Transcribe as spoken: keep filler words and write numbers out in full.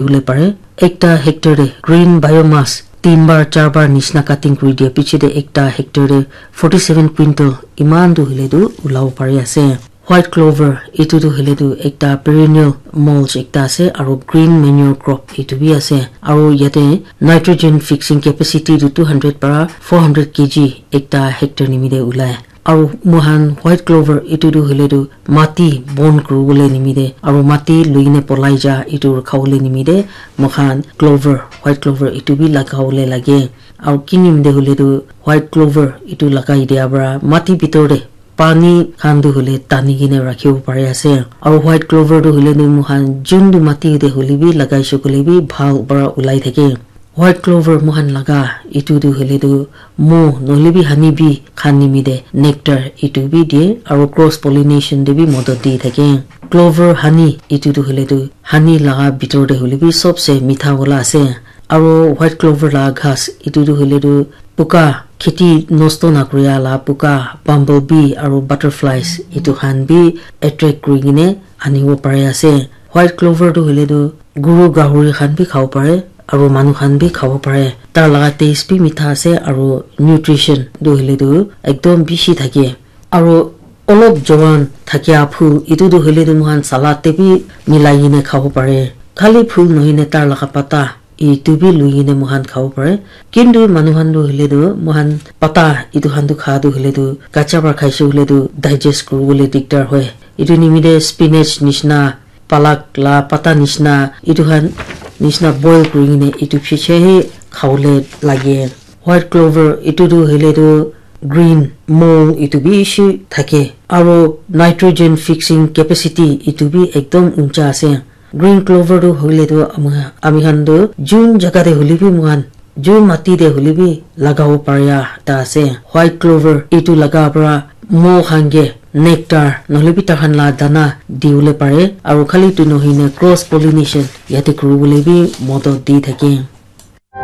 dibole pare. Ekta hectare te green biomass tin bar, char bar nishina cutting kuri dia piche te ekta hectare te forty seven quintal eman tu hoile tu ulabo pari ase. White clover, etu tu hoile tu ekta perennial mulch ekta ase, aro green manure crop etu bi ase, aro yate nitrogen fixing capacity tu two hundred para four hundred K G ekta hectare nimite ulai. Aro moikhan white clover etu tu hoile tu mati bon kuribole nimite aro mati lui kene polai ja etu rakhabole nimite moikhan clover, white clover etu bi lagabole lage. Aro ki nimite hoile tu white clover etu lagai dia para mati bitor te pani khan tu hoile tani kene rakhibo pari ase. Aro white clover tu hoile tu moikhan juntu mati te hoile bi lagai shey koile bi bhal para ulai thake. White clover moikhan laga etu tu hoile tu mo nohoile bi honey bee khan nimite nectar etu bi die aro cross pollination te bi modot di thake. Clover honey etu tu hoile tu honey laga bitor te hoile bi sobse mitha wala ase. Aro white clover la ghas etu tu hoile tu puka kheti nosto nakuria la puka bumble bee aro butterflies etu khan bi attract kuri kene anibo pari ase. White clover tu hoile tu guru gahuri khan bi khabo pare aro manu khan bi khabo pare. Tar laga taste bi mitha ase aro nutrition tu hoile tu ekdom bishi thake. Aro olop jowan thakia phul etu tu hoile tu moikhan salad te bi milai kene khabo pare. Khali phul nohoi ne tar laga pata etu bi lui kene moikhan khabo pare. Kintu manu khan tu hoile tu moikhan pata etu khan tu kha tu hoile tu kacha para khaishe hoile tu digest kuribole dikdar hoi. Etu nimite spinach nishina, palak la pata nishina, etu khan nishina boil kuri kene etu piche he khabole lage. White clover etu tu hoile tu green mold etu bishi thake aro nitrogen fixing capacity etu bi ekdom uncha ase. Green clover tu hoile tu ami, ami khan tu jun jaga te hoile bi moikhan jun mati te hoile bi lagabo paria ekta ase. White clover etu laga para mo khan ke nectar nohoile bi takhan la dana dibole pare aro khali tu nohoi ne cross pollination yate kuribole bi modot di thake.